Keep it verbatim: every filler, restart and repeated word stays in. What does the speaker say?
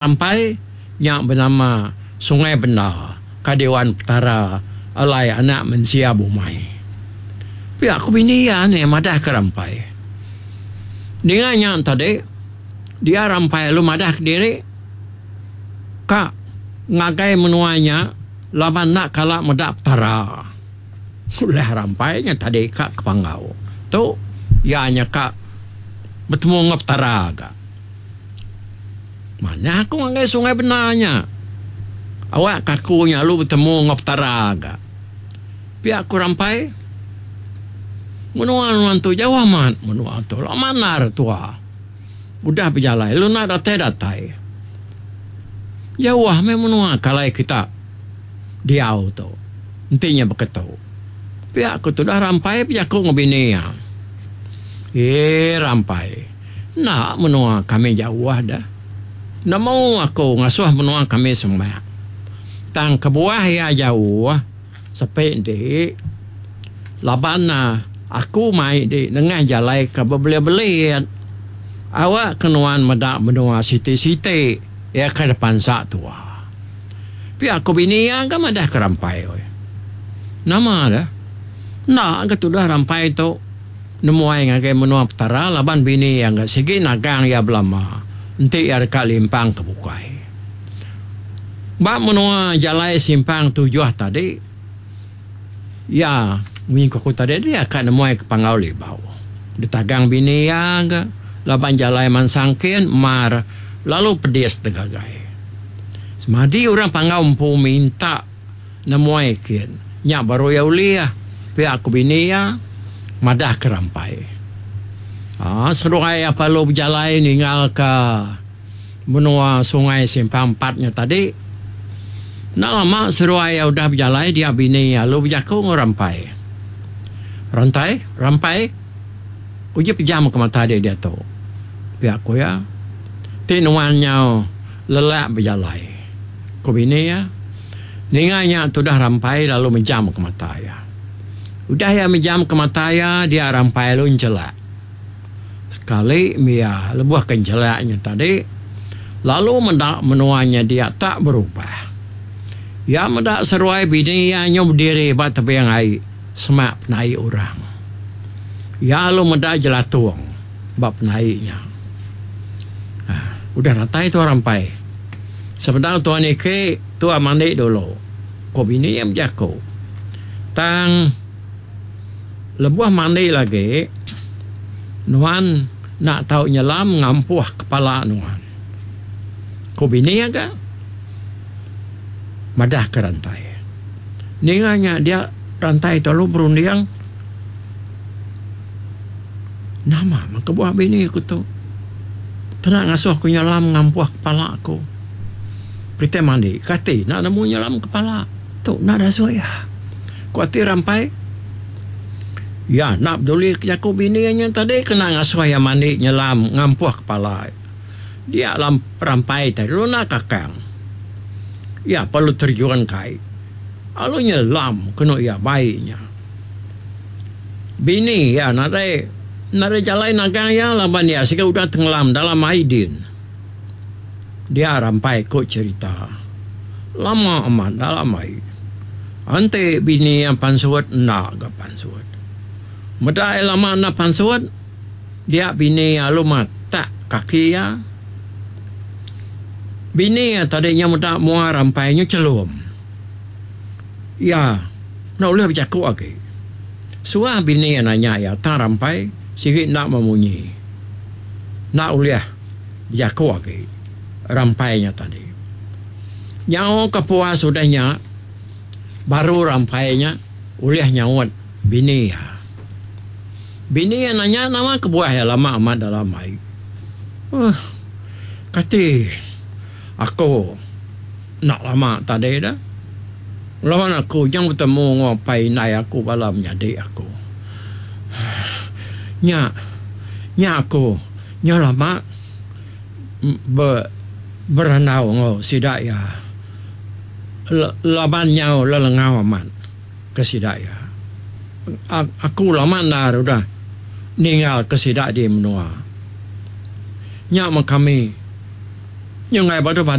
Ampai nya benama Sungai Benda ka diwan Petara alai anak mensia bumai. Pia ku bini iya nih madahka Rampai. Ninga nya tadi, dia Rampai lalu madah kediri ka ngagai menua nya laban enda kala meda Petara. Ulah Rampai nya tadi ka ke Panggau tu iya nya ka betemu enggau Petara ga. Manah aku ngagai Sungai Bena nya. Awak ka aku nya lalu betemu enggau Petara ga. Pia ku Rampai. Menua nuan tu jauh amat menua tu lama endar tua udah bejalai lalu enda datai-datai. Jauh meh menua ke alai kita diau tu enti nya baka tu. Pia ku tudah Rampai bejaku enggau bini iya. Ee Rampai. Enda menua kami jauh deh. Nemu aku ngasuh menua kami semak. Tang kebuah iya jauh sepi enti laban aku mai di nengah jalai ke bebelit-belit. Awak ke nuan meda menua siti-siti iya ke dipansa tua. Pia ku bini iya ga madah ke Rampai. Nama deh. Enda ga tudah Rampai tu. Nemuai ngagai menua Petara laban bini iya ga sigi nagang iya belama enti iya deka limpang ke bukai. Ba menua jalai simpang tujuh tadi, iya munyi ku aku tadi dia ka nemuai ke Panggau Libau. Ditagang bini iya ga laban jalai mansang kin mar lalu pedis degagai. Semadi orang Panggau empu minta Nemuai kin. Nya baru iya ulih, pia ku bini iya madahka Rampai. Aa seduai iya perlu bejalai ninggalka menua Sungai Simpang Empat nya tadi. Enda lama seduai iya udah bejalai dia bini iya lalu bejaku enggau Rampai. Rantai, Rampai, uji pejamka mata dek diatu, pia ku iya. Ti nuan nyau lelak bejalai, ku bini iya. Ninga nya tudah Rampai lalu mejamka mata iya. Udah iya mejamka mata iya, dia Rampai lalu enchelak. Sekali mia lebuh ke enchelak nya tadi, lalu meda menua nya dia tak berubah. Iya meda seruai bini iya nyu bediri ba tebing ai semak penai orang. Iya lalu meda jelatung ba penai nya. Udah datai tuah Rampai. Sebedau tuah niki, tuah mandi dulu, ku bini iya bejaku. Tang lebuh mandi lagi, nuan enda tau nyelam ngampuh kepala nuan, ku bini iya ga madahka Rantai. Ninga nya dia Rantai tu lalu berunding, Nama meh kebuah bini ku tu kena ngasuh ku nyelam ngampuh kepala ku. Kitai mandi kati enda nemu nyelam kepala tu enda dasuh iya. Ku ati Rampai. Iya enda peduli ke jaku bini iya nya tadi kena ngasuh iya mandi nyelam ngampuh kepala. Dia Rampai tadi lalu enda kakang. Iya perlu terjun ke ai lalu nyelam kenu iya bai nya. Bini iya nadai nadai jalai nagang iya laban iya siga udah tengelam dalam ai din. Dia rampai ku cherita. Lama amat dalam ai. Enti bini iya pansut enda ga pansut. Meda iya lama enda pansut dia bini iya lalu matak kaki iya. Bini iya tadi nya meda mua rampai nya chelum. Iya enda ulih bejaku agi. Suah bini iya nanya iya tang Rampai sigi enda memunyi. Enda ulih bejaku agi Rampai nya tadi. Nyau ke puas udah nya baru Rampai nya ulih nyaut bini iya. Bini iya nanya nama kebuah iya lama amat dalam ai. Uhh kati aku enda lama tadi dah. Laban aku nyau betemu enggau apai indai aku bala menyadi aku. Nya nya aku nyau lama be berandau enggau sida iya laban nyau lelengau amat ke sida iya. Aku lama endar udah ninggal ke sida di menua. Nya meh kami. Nyau enggai badu-badu.